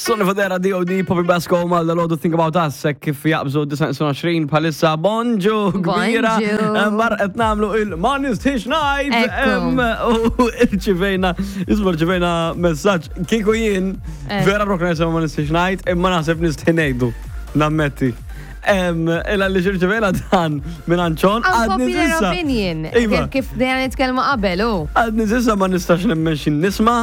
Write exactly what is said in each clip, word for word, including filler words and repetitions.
Sonny Fodera, D O D. Poppy Basco, Malda Lodu, Think About Us, hekk kif jaqbżu disgħa u għoxrin bħalissa, bonġu, kbira. Bonġu. Bar qed nagħmlu il-Ma Nistħix Ngħid. Ekku. Em, U rċivejna, isma', rċivejna messaġġ, kieku jien, Eh. vera rokna nisma' Ma Nistħix Ngħid, imma naħseb nistħi ngħidu, nammetti. Em, Illa li rċivejna dan minn Anċon, għadni Unpopular s'issa. opinion. Iva. Kif kif dejja nitkellmu qabel, u. Għadni s'issa ma nistax nemmen xin nisma'.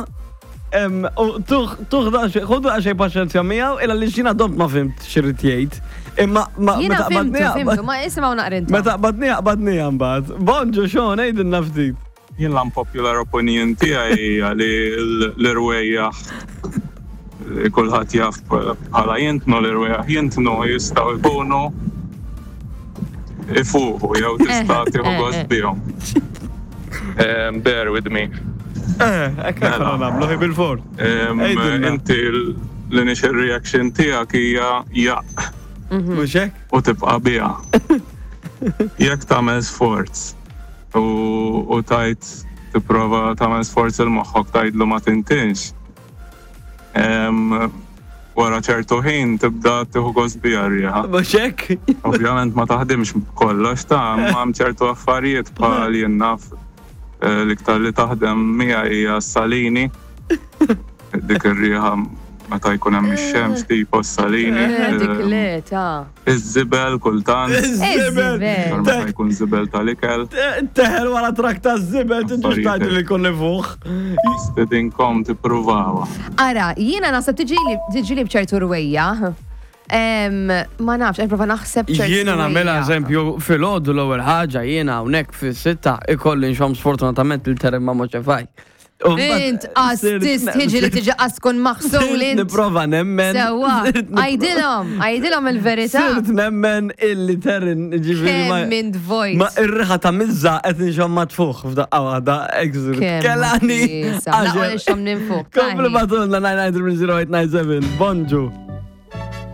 Em, U tuħ, tuħ da ħudu għaxej paċenzja miegħu, illa li xina domt ma fhimt x'irid jgħid. Imma ma Jiena meta fhimtu, qbadniha- fhimtu, ma isimgħu naqra intom. Meta qbadniha qbadniha mbagħad. Bonġu Sean, għidilna ftit. Jien l-unpopular opinion tiegħi hija li l-irwejjaħ li kulħadd jaf bħala jintnu, l-irwejjaħ jintnu jistgħu jkunu ifuħu jew tista' tieħu eh, gost eh. bihom. Em, Bear with me. Eh, hekk Mela. aħna nagħmlu ħi bil-fort. Em, Għidilna. Inti l-initial reaction tiegħek hija jaq Mhux hekk? u tibqa' biha. Jekk tagħmel sforz u, u tajt tipprova tagħmel sforz il-moħħok tgħidlu ma tintinx. Em, wara ċertu ħin tibda tieħu gost biha r-riħa. Mhux hekk? Ovvjament ma taħdimx kollox ta' imma hemm ċertu affarijiet bħal jien naf eh, l-iktar li taħdem miegħi hija salini. Dik ir-riħa meta jkun hemm ix-xemx tipo salini. Eh, Dik Em, le, ta' Iż-żibel kultant. Iż-żibel. Iż-żibel. Meta jkun żibel tal-ikel. Teħel wara trak ta' żibel, tiġix tgħid li kolli fuq. Stedinkom tippruvawa. Ara, jiena naħseb tiġi tiġi li bċertu rwejja. Em, Ma nafx, prova naħseb ċertu Jiena nagħmilha rwejja. eżempju filgħodu l-ewwel ħaġa jiena hawnhekk fis-sitta ikolli nxomm sfortunatament il-terem ma' moċefaj. Int qas tiġi li tiġi qas tkun maħsul int. Nipprova nemmen. Sewwa, sirt nipprova- għidilhom, għidilhom il-verità. Sirt nemmen illi terin ġifieri ma. Kemm int vojt. Ma ir-riħa ta' mizza qed nxomm ma tfuħ f'daqqa waħda. Exur. Kemm Kelani. nifisa. Laqwa li xom ninfuq. Komplu bagħtulna nine nine zero eight nine seven. Bonġu.